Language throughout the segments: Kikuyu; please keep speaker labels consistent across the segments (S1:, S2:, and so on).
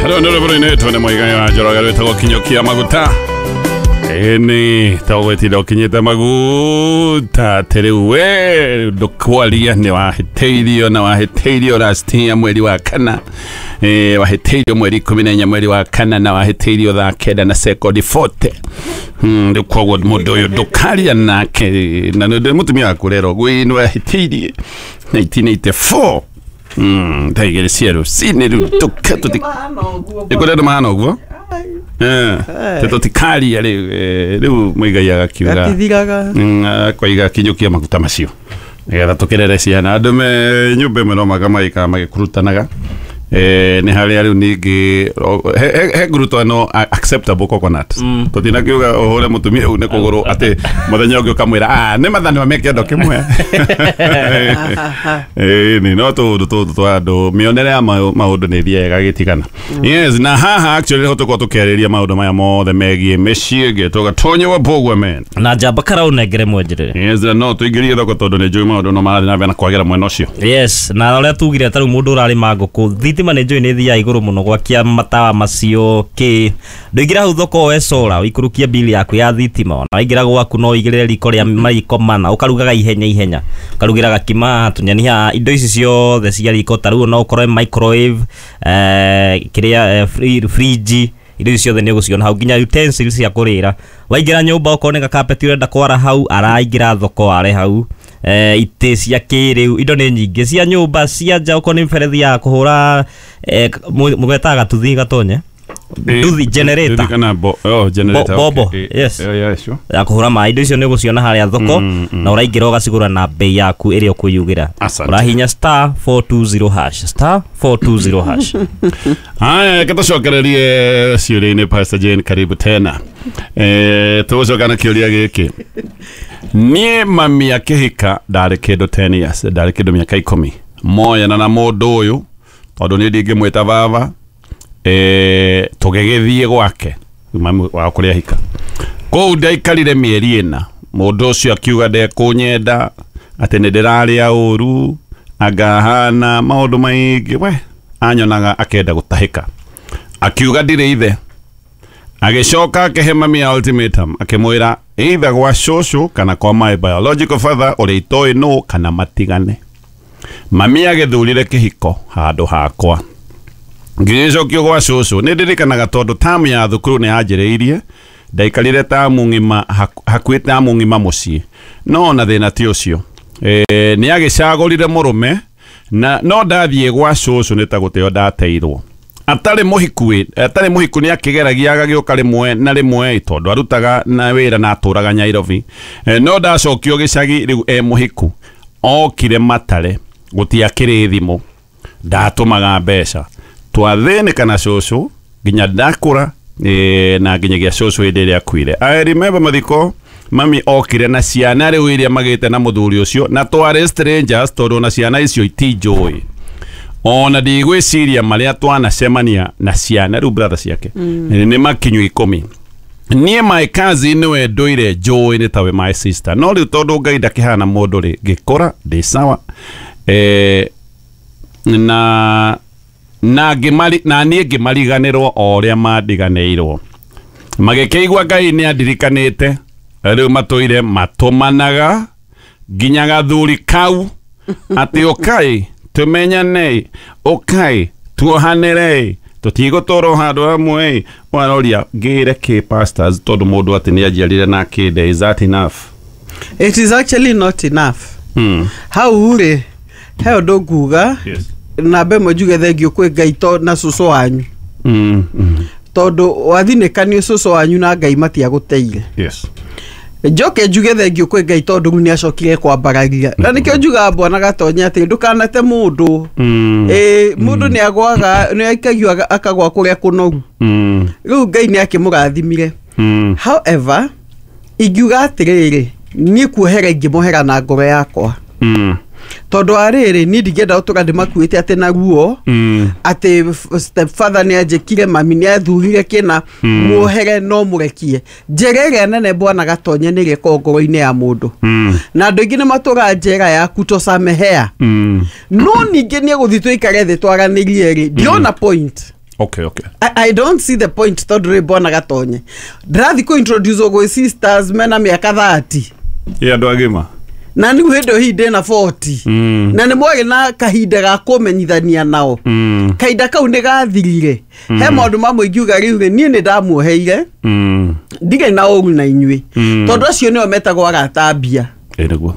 S1: Rĩu nĩ rwĩmbo rũinĩtwo nĩ Mũigai wa Njoroge rwĩtagwo Kinyũkia Maguta. Ĩni ta ũgwĩtinda ũkinyĩte maguta atĩ rĩu we ndũkwaria nĩ wahĩtĩirio na wahĩtĩirio last year mweri wa kana, wahĩtĩirio mweri 14 mweri wa kana na wahĩtĩirio thaa 9 na sekondi 40. Rĩu koguo mũndũ ũyũ ndũkaria nake na nĩ mũtumia waku rero gwĩ nĩ wahĩtĩirie 1984, thaa 2 cia rũcinĩ. Rĩu nĩkũrĩ andũ mahana ũguo. Tũtikaria rĩu, rĩu Mũigai agakiuga
S2: Gatithiraga.
S1: Akoiga kinyũkia maguta macio nĩgetha tũkĩrere ciana. Andũ me nyũmba ĩmwe no maga magĩikara magĩkurutanaga. Nĩ harĩa rĩu ningĩ he ngurutano acceptable coconut tũtinakiuga ũhũre mũtumia une kũgũrũ atĩ mũthenya ũngĩ ũkamwĩra, "Ah, nĩ mathanwa me kĩondo kĩmwe." Ĩni no tũũndũ tũtũ twa andũ mĩonere ya maũndũ nĩ ĩthiaga ĩgagĩtigana. Yes, na haha actually nĩho tũkorwo tũkĩarĩria maũndũ maya mothe megiĩ mĩciĩ. Ngĩtwo Gatonye wa Mbũgua men
S3: na njamba kara ũnengere mwenjerere.
S1: Yes, na no tũingĩrie thoko tondũ nĩ njũĩ maũndũ no marathiĩ na mbere na kwagĩra mwena ũcio.
S3: Yes, na ũrĩa tugire ta rĩu mũndũ ũrarĩma ngũkũ, thitima nĩ njũĩ nĩ thiaga igũrũ mũno gwakia matawa macio kĩ. Ndũingĩra hau thoko woe solar ũikũrũkie bili yaku ya thitima. Ona waingĩra gwaku no ũigĩrĩre riko rĩa mariko mana ũkarugaga ihenya ihenya, ũkarugĩra gakima tũnyeni haha, indo ici ciothe cia riko ta rĩu no ũkorwo microwave, kĩrĩa, fridge, indo ici ciothe nĩ ũgũciona hau, nginya utensils cia kũrĩra. Waingĩra nyũmba okorwo nĩ gakapeti ũrenda kwara hau, araingĩra thoko are hau, itĩ cia kĩrĩu, indo nĩ nyingĩ cia nyũmba, cia nja, okorwo nĩ mberethi ya kũhũra, mũgetaga gatuthi gatonye nduthi, generator.
S1: Nduthi kana oh, generator.
S3: Bobo,
S1: okay.
S3: Yes.
S1: Yeah, sure.
S3: Ya kũhũra maĩ, indo icio nĩ ũgũciona harĩa thoko na ũraingĩra ũgacigũra na bei yaku ĩrĩa ũkwĩyugĩra.
S1: Asante.
S3: Ũrahinya *420#, *420#.
S1: Haya, reke tũcokererie ciũria-inĩ. Pastor Jane, karibu tena. Tũgũcoka na kĩũria gĩkĩ. Niĩ mami akĩhika ndarĩ kĩndũ 10 years, ndarĩ kĩndũ mĩaka 10 moyana na mũndũ ũyũ tondũ niĩ ndingĩmwĩta baba. Tũgĩgĩthiĩ gwake mami wa kũrĩa hika kũu ndaikarire mĩeri 4. Mũndũ ũcio akiuga ndekũnyenda, atĩ nĩ ndĩrarĩa ũru, angahana maũndũ maingĩ. We anyonaga akenda gũtahĩka, akiuga ndirĩ ithe. Agĩcoka akĩhe mami ya ultimatum, akĩmwĩra either gwa cũcũ kana kwa my biological father ũrĩa itoĩ nũ, kana matigane. Mami agĩthurire kĩhiko handũ hakwa, ngĩgĩcokio gwa cũcũ. Nĩ ndirikanaga tondũ tamu ya thukuru nĩ yanjĩrĩirie, ndaikarire tamu ng'ima, hakuhĩ tamu ng'ima mũciĩ, no ona thĩna ti ũcio. Nĩ agĩcagũrire mũrũme na no ndathiĩ gwa cũcũ nĩ ta gũteo ndateirwo. Atarĩ mũhiku atarĩ mũhiku nĩ akĩgeragia agagĩũka rĩmwe na rĩmwe tondũ arutaga na wĩra na atũraga Nairobi. No ndacokio gĩcagi rĩu e mũhiku okire matare, gũtiakĩrĩ thimũ, ndatũmaga mbeca, twathĩnĩka na cũcũ nginya ndakũra, na nginyagia cũcũ hĩndĩ ĩrĩa akuire. I remember mathiko mami okire na ciana rĩu iria magĩte na mũthuri ũcio, na twarĩ strangers tondũ na ciana icio itinjũĩ ona ndigwĩciria marĩa twanacemania na ciana rĩu brother ciake nĩ makinyu 10. Niĩ my cousin nĩwe ndũire njũĩ nĩ tawe my sister, no rĩu tondũ Ngai ndakĩhana mũndũ rĩ, ngĩkũra ndĩ sawa, na ngĩmari na niĩ ngĩmariganĩrwo o ũrĩa mandiganĩirwo. Magĩkĩigua Ngai nĩ andirikanĩte. Rĩu matũire matũmanaga nginya gathuri kau atĩ ũkai tũmenyane, ũkai tuohanĩre, tũtigũtũrwo handũ hamwe. Waroria ngĩre kĩ pastors tondũ mũndũ atĩ nĩ anjiarire na akĩnde, is that enough?
S2: It is actually not enough. Hau rĩ he ũndũ nguga. Namba ĩmwe njuge thengiũ kwĩ Ngai to na cũcũ wanyu tondũ wathinĩkanio cũcũ wanyu na Ngai matiagũteire. Njoke njuge thengiũ kwĩ Ngai tondũ rĩu nĩ acokire kwambararia, na nĩkĩo njugaga bwana Gatonye atĩ ndũkanate mũndũ. Ĩ mũndũ nĩ agwaga, nĩ aikagio akagwa kũrĩa kũnoru. Rĩu Ngai nĩ akĩmũrathimire. However, ingiuga atĩrĩrĩ, niĩ kuohera ingĩmohera na ngoro yakwa tondũ wa rĩrĩ niĩ ndingĩenda gũtũra ndĩmakuĩte atĩ na ruo atĩ stepfather nĩ anjĩkire, mami nĩ athurire kĩna. Muohere no mũrekie. Njĩra ĩrĩa nene bwana Gatonye nĩ ĩrĩa ĩkoragwo ngoro-inĩ ya mũndũ na andũ aingĩ nĩ matũraga njera ya kutosamehea. No ningĩ nĩ egũthiĩ tũikare thĩ twaranĩrie rĩ, ndiona point.
S1: Okay, okay.
S2: I don't see the point tondũ rĩ bwana Gatonye ndĩrathiĩ kũ introduce gwĩ sisters mena mĩaka 30
S1: Ĩ andũ agima
S2: na nĩ hĩndĩ hihi ndĩna 40 na nĩ mwarĩ na kahinda ga kũmenyithania nao kahinda kau nĩ gathirire he maũndũ mamwe ingiuga rĩu rĩ niĩ nĩ ndamuoheire ndirĩ na ũru na inyuĩ tondũ acio nĩo metagwo arata mbia
S1: Ĩ nĩguo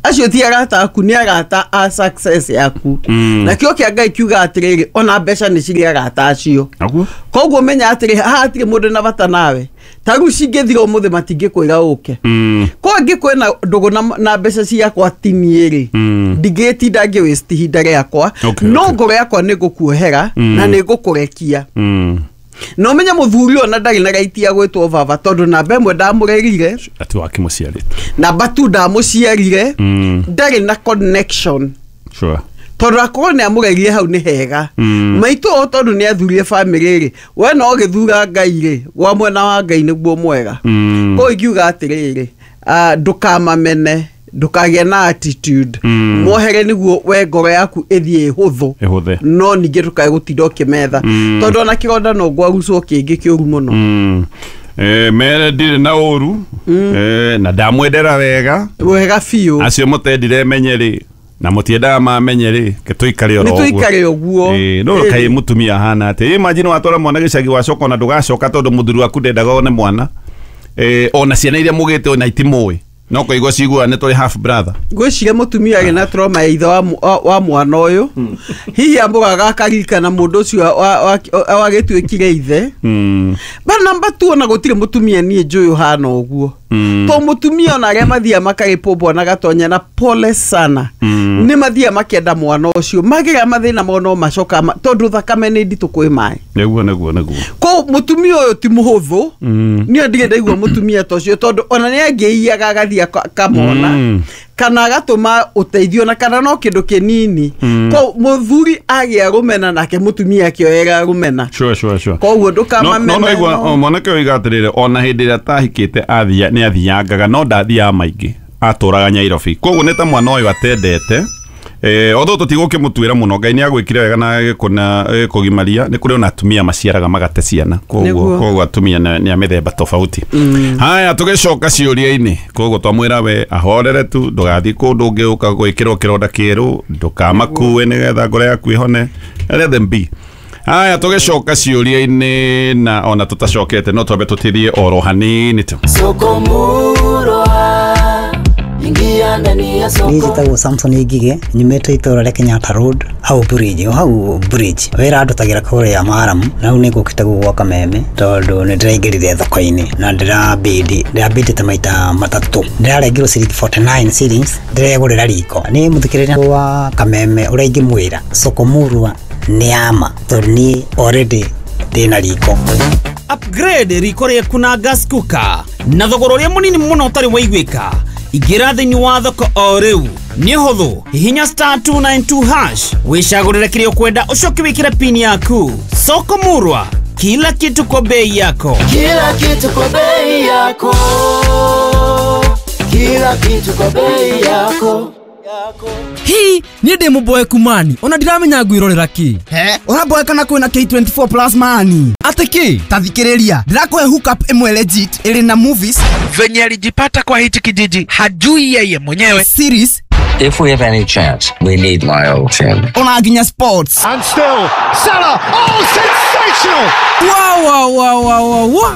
S2: acio ti arata aku nĩ arata a success yaku na kĩo kĩa Ngai kiuga atĩrĩrĩ ona mbeca nĩ cirĩ arata acio
S1: Naguo
S2: koguo menya atĩrĩ haha hatirĩ mũndũ na bata nawe ta rĩu cingĩthira ũmũthĩ matingĩkwĩra ũke ko angĩ kwĩna ndũgũ na mbeca ciakwa tinie rĩ ndingĩtinda ngĩ waste ihinda rĩakwa no ngoro yakwa nĩ ngũkuohera na nĩ ngũkũrekia no menya muthuri ona ndarĩ na right ya gwĩtwo baba tondũ namba ĩmwe ndamũrerire
S1: ati wakĩmũciarĩte
S2: namba tu ndamũciarire ndarĩ na connection
S1: sure
S2: tondũ akorwo nĩ amũrerire hau nĩ hega maitũ o tondũ nĩ athurire bamĩrĩ rĩ we no ũgĩthura Ngai rĩ gwa mwena wa Ngai nĩguo mwega koguo ingiuga atĩrĩrĩ ndũkamamene ndũkagĩe na attitude mwohere nĩguo we ngoro yaku ĩthiĩ ĩhũthũ
S1: ĩhũthe
S2: no ningĩ ndũkae gũtinda ũkĩmetha tondũ ona kĩronda no ngwarucwo kĩngĩ kĩũru mũno
S1: mere ndirĩ na ũru na ndamwendera wega
S2: wega biũ
S1: acio mũtendire menye rĩ na mũtiendaga mamenye rĩ ke tũikare oro
S2: nĩ tũikare ũguo
S1: no kaĩ mũtumia ahana atĩ imagine watwara mwana gĩcagi wacoka ona ndũgacoka tondũ mũthuri waku ndendaga one mwana ona ciana iria mũgĩte ona itimũĩ no kũigua ciguaga nĩ tũrĩ half brother
S2: ngwĩciria mũtumia arĩ na trauma ya ithe wa mwana ũyũ hihi amũraga akaririkana mũndũ ũcio wagĩtuĩkire ithe but number two ona gũtirĩ mũtumia niĩ njũĩ ũhana ũguo to mũtumia ona arĩa mathiaga makarĩpwo bwana Gatonye na pole sana nĩ mathiaga makĩenda mwana ũcio magĩra mathĩna mao no macoka tondũ thakame nĩ nditũ kwĩ maĩ
S1: nĩguo nĩguo nĩguo
S2: ko mũtumia ũyũ ti mũhũthũ niĩ ndirĩ ndaigua mũtumia ta ũcio tondũ ona nĩ angĩiyaga agathiĩ akamona kana agatũma ũteithio na kana no kĩndũ kĩnini ko mũthuri agĩa rũmena nake mũtumia akĩoera rũmena
S1: sure sure sure
S2: koguo ndũkamamene
S1: no igua mwanake oiga atĩrĩrĩ ona hĩndĩ ĩrĩa atahikĩte nĩ athiangaga no ndathiaga maingĩ atũraga Nyairobi koguo nĩ ta mwana ũyũ atendete although tũtigũkĩmũtuĩra mũno Ngai nĩ agwĩkire wega na agĩkũgimaria nĩ kũrĩ ona atumia maciaraga magate ciana koguo atumia nĩ a mĩthemba tofauti haya tũgĩcoka ciũria-inĩ koguo twamwĩra we ahorere tu ndũgathiĩ kũndũ ũngĩũka gwĩkĩrwo kĩronda kĩerũ ndũkamakue nĩgetha ngoro yaku ĩhone let them be haya tũgĩcoka ciũria-inĩ na ona tũtacokete no twambe tũtithie oro hanini tu
S4: Soko Murwa ingia ndani ya soko.
S5: Niĩ njĩtagwo Samson Ngige nyumĩte itũra rĩa Kenyatta Road hau bridge o hau bridge wĩra ndutagĩra kũrĩa Maramu na rĩu nĩngũkĩte gũkũ Kameme tondũ nĩndĩraingĩrire thoko-inĩ na ndĩrabindĩte maita matatũ ndĩrarengirwo ciringi 49 shillings ndĩregũrĩra riko nĩ mũthikĩrĩria wa Kameme ũrĩa ingĩmwĩra Soko Murwa nĩ ama tondũ niĩ already ndĩna riko.
S6: Upgrade riko rĩaku na gas cooker na thogora ũrĩa mũnini mũno ũtarĩ waiguĩka ingĩra thĩinĩ wa thoko o rĩu nĩ ũhũthũ hihinya star 292 hash wĩcagũrĩre kĩrĩa ũkwenda ũcoke wĩkĩre pin yaku. Soko Murwa, kila kitu kwa bei yako.
S4: Kila kitu kwa bei yako. Kila kitu kwa bei yako.
S7: Hi, niĩ ndĩ mũboeku mani ona ndiramenya ngwĩrorera kĩ.
S8: He, ũraboeka na kwĩna K24 plus mani.
S7: Atĩ kĩ?
S8: Ta thikĩrĩria, ndĩrakũhe hookup ĩmwe legit ĩrĩ na movies.
S9: Venye alijipata kwa hichi kijiji hajui yeye mwenyewe.
S8: Series.
S10: If we have any chance, we need my old team.
S8: Ona nginya sports.
S11: And still, Salah, oh sensational!
S7: Wow, wow, wow, wow, wow.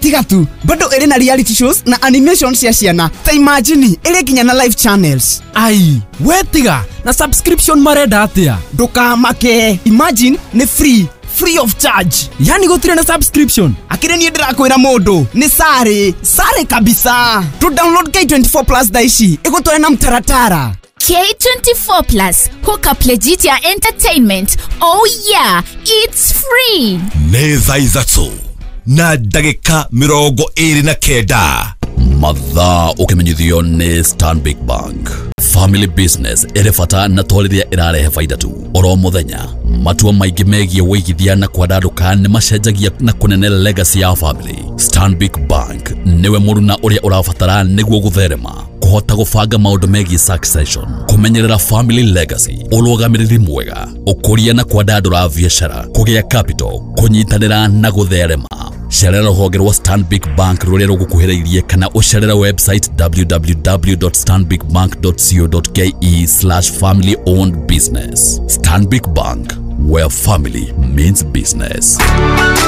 S8: Tiga tu, bado ĩrĩ na reality shows na animation cia ciana. Ta imagine, ĩrĩ nginya na live channels.
S7: Ai, we tiga, na subscription marenda atĩa?
S8: Ndũkamake, imagine nĩ free. Free of charge.
S7: Yani gũtirĩ na subscription.
S8: Akĩrĩ niĩ ndĩrakwĩra mũndũ nĩ sare sare kabisa. To download K24 plus thaa ici ĩgũtware na mtaratara.
S12: K24 Plus, hook up legit ya entertainment. Oh yeah, it's free.
S13: Nĩ thaa ithatũ na ndagĩka 29 mathaa ũkĩmenyithio nĩ Stanbic Bank. Family business ĩrĩ bata na to rĩrĩa ĩrarehe baida tu. Oro mũthenya matua maingĩ megiĩ wĩigithia na kwandandũka nĩ macenjagia na kũnene legacy ya family. Stanbic Bank nĩwe mũruna ũrĩa ũrabatara nĩguo gũtherema, kũhota gũbanga maũndũ megiĩ succession, Kũmenyerera family legacy, ũrũgamĩrĩri mwega, ũkũria na kwandandũra biacara, kũgĩa capital, kũnyitanĩra na gũtherema. Cerera rũhonge rwa Stanbic Bank rũrĩa rũgũkuhĩrĩirie kana ũcerere website www.stanbicbank.co.ke/family owned business. Stanbic Bank, where family means business.